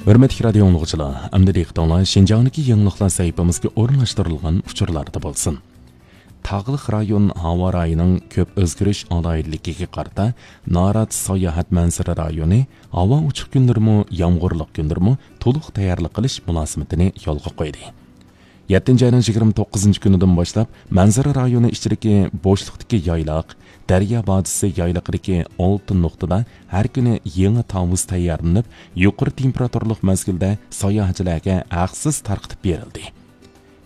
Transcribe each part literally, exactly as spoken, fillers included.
ھۆرمەتلىك رادىيو ئاڭلىغۇچىلار، ئەمدى دىققىتىڭلار شىنجاڭدىكى يېڭىلىقلار سەھىپىمىزگە ئورۇنلاشتۇرۇلغان ئۇچۇرلاردا بولسۇن. تاغلىق رايون ھاۋا رايىنىڭ كۆپ ئۆزگىرىش ئالاھىدىلىكىگە قارىتا، نارات ساياھەت مەنزىرە رايونى ھاۋا ئوچۇق كۈنلىرىمۇ، يامغۇرلۇق كۈنلىرىمۇ تولۇق تەييارلىق قىلىش مۇلازىمىتىنى يولغا قويدى. يەتتىنچى ئاينىڭ يىگىرمە توققۇزىنچى كۈنىدىن باشلاپ، مەنزىرە رايونى ئىچىدىكى بوشلۇقتىكى يايلاق، دەريا باجىسى يايلىقىدىكى ئالتە نۇقتىدا ھەر كۈنى يېڭى تاۋۇز تەييارلىنىپ، يۇقىرى تېمپېراتۇرىلىق مەزگىلدە ساياھەتچىلەرگە ھەقسىز تارقىتىپ بېرىلدى.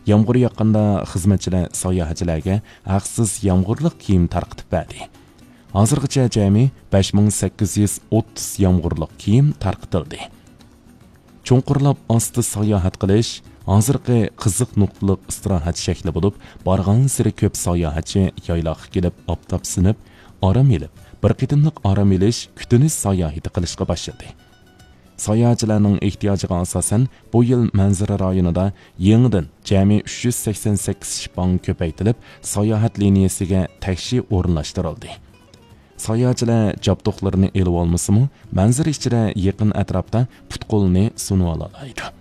يامغۇر ياغقاندا خىزمەتچىلەر ساياھەتچىلەرگە ھەقسىز يامغۇرلۇق كىيىم تارقىتىپ بەردى. ھازىرغىچە جەمئىي بەش مىڭ سەككىز يۈز ئوتتۇز يامغۇرلۇق كىيىم تارقىتىلدى. چوڭقۇرلاپ ئاستا ساياھەت قىلىش ھازىرقى قىزىق نۇقتىلىق ئىستىراھەت شەكلى بولۇپ، بارغانسېرى كۆپ ساياھەتچى يايلاققا كېلىپ ئاپتاپ سىنىپ، ئارام ئېلىپ، بىر قېتىملىق ئارام ئېلىش، كۈتۈنۈش ساياھىتى قىلىشقا باشلىدى. ساياھەتچىلەرنىڭ ئېھتىياجىغا ئاساسەن، بۇ يىل مەنزىرە رايونىدا يېڭىدىن جەمئىي ئۈچ يۈز سەكسەن سەككىز شىپاڭ كۆپەيتىلىپ، ساياھەت لىنىيەسىگە تەكشى ئورۇنلاشتۇرۇلدى. ساياھەتچىلەر جابدۇقلىرىنى ئېلىۋالمىسىمۇ، مەنزىرە ئىچىدە يېقىن ئەتراپتا پۇت-قولىنى سۇنۇۋالالايدۇ.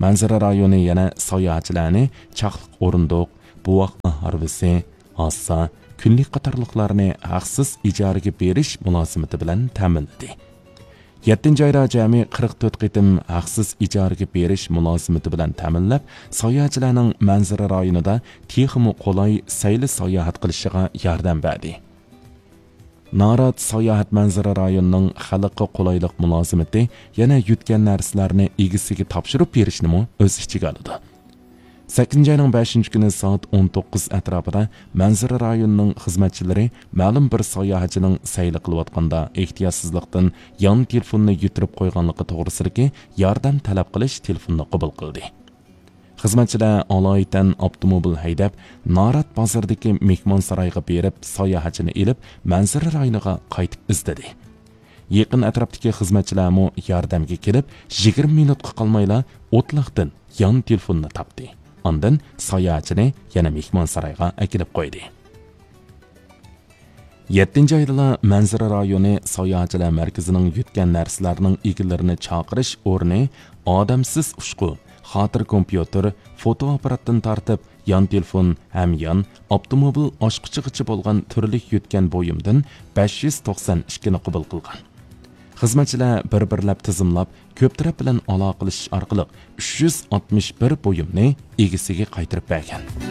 مەنزىرە رايونى يەنە ساياھەتچىلەرنى چاقلىق ئورۇندۇق، بوۋاقلار ھارۋىسى، ھاسا، كۈنلۈك قاتارلىقلارنى ھەقسىز ئىجارىگە بېرىش مۇلازىمىتى بىلەن تەمىنلىدى. يەتتىنچى ئايدا جەمئىي قىرىق تۆت قېتىم ھەقسىز ئىجارىگە بېرىش مۇلازىمىتى بىلەن تەمىنلەپ، ساياھەتچىلەرنىڭ مەنزىرە رايونىدا تېخىمۇ قولاي سەيلە ساياھەت قىلىشىغا ياردەم بەردى. نارات ساياھەت مەنزىرە رايونىنىڭ خەلققە قولايلىق مۇلازىمىتى يەنە يۆتكەن نەرسىلەرنى ئىگىسىگە تاپشۇرۇپ بېرىشنىمۇ ئۆز ئىچىگە ئالىدۇ. سەككىزىنچى ئاينىڭ بەشىنچى كۈنى سائەت ئون توققۇز ئەتراپىدا مەنزىرە رايونىنىڭ خىزمەتچىلىرى مەلۇم بىر ساياھەتچىنىڭ سەيلە قىلىۋاتقاندا ئېھتىياتسىزلىقتىن يان تېلېفوننى يىتىرىپ قويغانلىقى توغرىسىدىكى ياردەم تەلەپ قىلىش تېلېفونىنى قوبۇل قىلدى. خىزمەتچىلەر ئالايىتەن ئاپتوموبىل ھەيدەپ، نارات بازىرىدىكى مېھمانسارايغا بېرىپ، ساياھەتچىنى ئېلىپ، مەنزىرە رايونىغا قايتىپ ئىزدىدى. يېقىن ئەتراپتىكى خىزمەتچىلەرمۇ ياردەمگە كېلىپ، يىگىرمە مىنۇتقا قالمايلا ئوتلاقتىن يان تېلېفوننى تاپتى. ئاندىن ساياھەتچىنى يەنە مېھمانسارايغا ئەكېلىپ قويدى. يەتتىنچى ئايدىلا مەنزىرە رايونى ساياھەتچىلەر مەركىزىنىڭ يۆتكەن نەرسىلەرنىڭ ئىگىلىرىنى چاقىرىش ئورنى ئادەمسىز ئۇچقۇ، خاتىرە كومپيۇتېر، فوتو ئاپپاراتتىن تارتىپ، يان تېلېفون، ھەميان، ئاپتوموبىل ئاچقۇچىغىچە بولغان تۈرلۈك يۆتكەن بۇيۇمدىن بەش يۈز توقسان ئىككىنى قوبۇل قىلغان. خىزمەتچىلەر بىر-بىرلەپ تىزىملاپ، كۆپ تەرەپ بىلەن ئالاقىلىشىش ئارقىلىق ئۈچ يۈز ئاتمىش بىر بۇيۇمنى ئىگىسىگە قايتۇرۇپ بەرگەن.